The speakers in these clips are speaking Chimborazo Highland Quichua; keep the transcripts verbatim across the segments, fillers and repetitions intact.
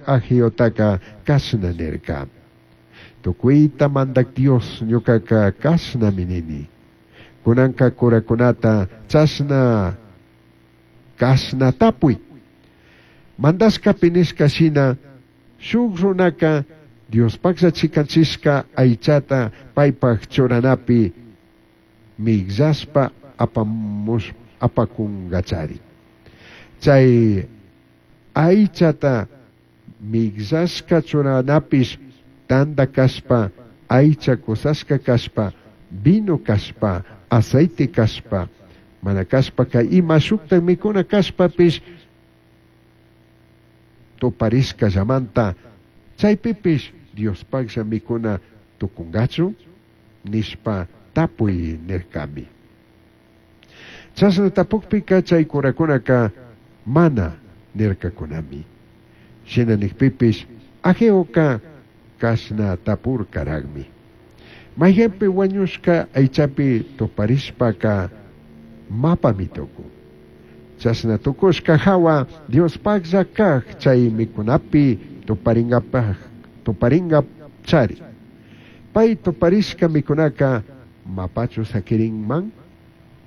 Ageotaca cashna nirca. Tucuita Mandac Dios ñucaca cashnami nini. Cunanca curacunata chashna cashna tapui. Mandashcapi nishca shina shuj runaca Diospajlla chicanchishca aichata paipaj churanapi migllashpa apamush apacungachari. Chay aichata migllashca churanapish tanda cashpa, aicha cusashca cashpa, vino cashpa, aceite cashpa, mana cashpaca ima shuktak mikuna cashpapish tuparishca llamanta chaypipish Diospajlla mikuna tucungachu nishpa tapui nircami. Chashna tapukpika chay curakunaka mana nircakunami. Shina nikpipish Ageoka kashna tapurkaragmi. Mayqanpi wañushka aychapi tuparishpaka mapami tukun. Chashna tukushka hawa Diospajlla kaj chay mikunapi tuparingapaj tuparingachari. Pay tuparishka mikunaka mapachu sakirinman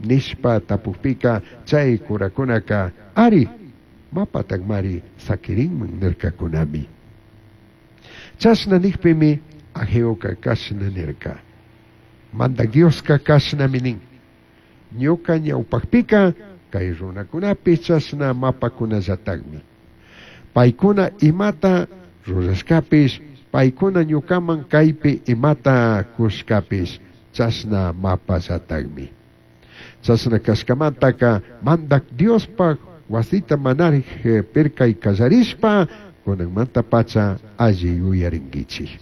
nishpa tapukpika chay kurakunaka ari mapatakmari sakirinman nirkakunami. Chashna nikpimi Ageoka kashna nirka. Mandak Dioska kashnami nin. Ñuka ñawpakpika kay runakunapish chashna mapakunallatakmi. Paykuna imata rurashkapish, paykuna ñukaman kaypi imata kushkapish chashna mapallatakmi. Chashna kashkamantaka Mandak Diospaj wasita manarij pirkay kallarishpa kunanmanta pacha alli yuyarinkichik.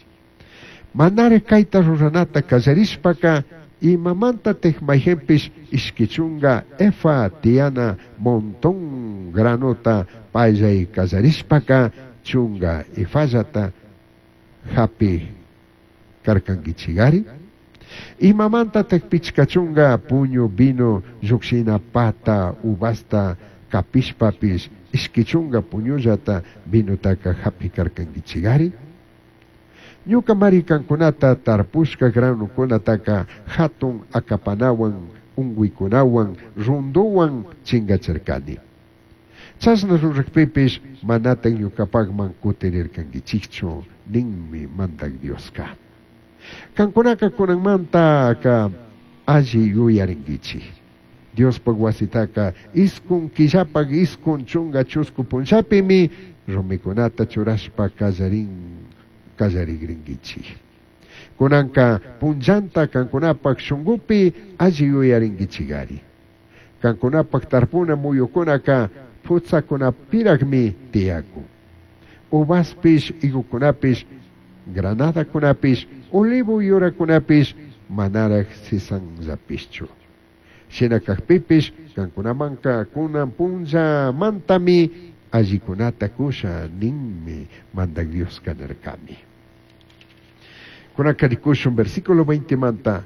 Manarij kayta ruranata kallarishpaka imamantatik mayqanpish ishki chunga efa tiyana montón granota pallay kallarishpaka chunga efallata hapi karkankichigari. Imamantatik pichka chunga puñu vino llukshina pata uvasta kapishpapish ishki chunga puñullata vinotaka hapi karkankichigari. Ñuka mari kankunata tarpushka granukunataka hatun akapanawan unguikunawan runduwan chingachirkani. Chashna rurakpipish manatan ñukapakman kutirirkankichikchu ninmi Mandak Dioska. Kankunaka kunanmantaka alli yuyarinkichik. Diospaj wasitaka iskun killapaj iskun chunga chusku punllapimi rumikunata churashpa kallarin kallarigrinkichik. Kunanka punllanta kankunapaj shunkupi alli yuyarinkichigari. Kankunapaj tarpuna muyukunaka putzakunapiraqmi tiyakun. Uvaspish, higukunapish, granadakunapish, olivo yurakunapish manaraj sisanllapishchu. Shina kajpipish kankunamanka kunan punllamantami allikunata kusha ninmi Mandak Dioska nirkami. Kunanka rikushun versículo veinte manta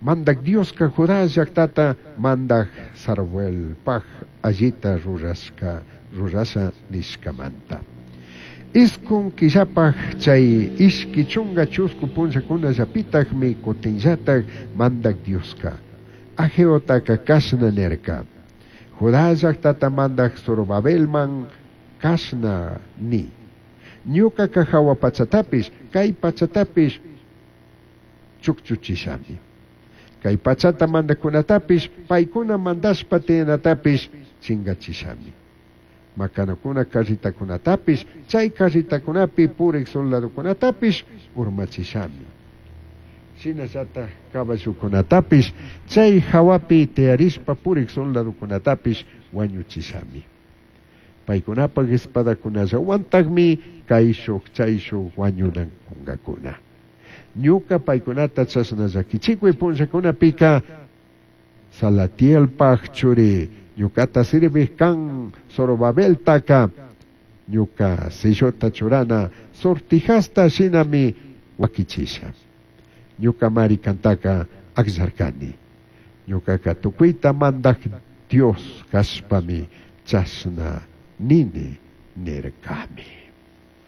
Mandak Dioska Judá llaqtata mandak Zorobabelpaj allita rurashka rurasha nishkamanta. Iskun killapaj chay ishki chunga chusku punllakunallapitakmi kutinllatak Mandak Dioska Ageotaka kashna nirka. Judá llaqtata mandak Zorobabelman kashna ni. Ñukaka hawa pachatapish kay pachatapish chukchuchishami. Kay pachata mandakunatapish paykuna mandashpa tiyanatapish chingachishami. Makanakuna carritakunatapish chay carritakunapi purik soldadokunatapish urmachishami. Shinallatak caballokunatapish chay hawapi tiyarishpa purik soldadokunatapish wañuchishami. Paykunapaj espadakunallawantakmi kayshuk chayshuk wañunankungakuna. Ñuka paykunata chashna llakichikuy punllakunapika Salatielpaj churi ñukata sirvij kan Zorobabeltaka ñuka sellota churana sortijasta shinami wakichisha. Ñuka mari kantaka akllarkani. Ñukaka tukuyta mandak Dios kashpami chashna nini nirkami.